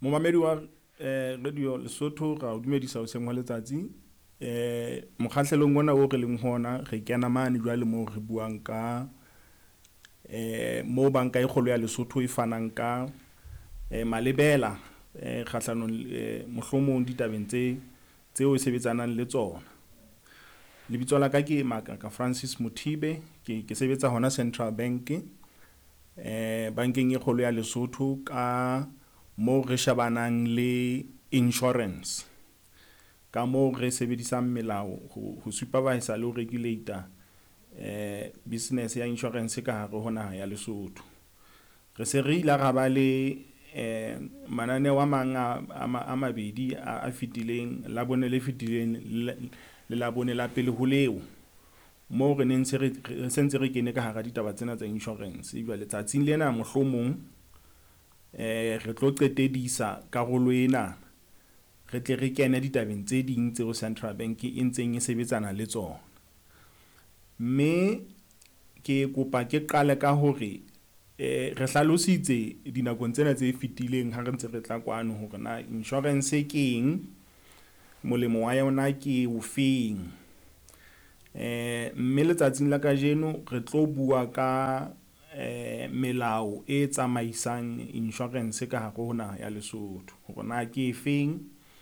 Momamedi wa Radio Lesotho, ra o dumedisa hoseng hwa letsatsi. Mokgahlelong ona o re leng ho ona, re kena mane jwale moo re buang ka moo banka e kgolo ya Lesotho e fanang ka malebela kgahlanong mohlomong ditabeng tse tseo e sebetsanang le tsona. Lebitso la ka ke Makaka Francis Mothibe, ke sebetsa hona Central Bank bankeng e kgolo ya Lesotho ka moo re shebanang le insurance. Ka moo re sebedisang melao ho supervise-a le ho regulate-a business ya insurance ka hare ho naha ya Lesotho. Re se re ile ra ba le mananeo a mang a mabedi a fetileng, Labone le fetileng le Labone la pele ho leo. Moo re neng se re sentse re kene ka hara ditaba tsena tsa insurance. Jwale tsatsing lena mohlomong re tlo qetedisa karolo ena, re tle re kene ditabeng tse ding tseo Central Bank e ntseng e sebetsana le tsona. Mme ke kopa ke qale ka hore re hlalositse dinakong tsena tse fetileng ha re ntse re tla kwano hore na insurance ke eng, molemo wa yona ke ofeng. Mme letsatsing la kajeno re tlo bua ka melao e tsamaisang insurance ka hare ho naha ya Lesotho, hore na ke efeng.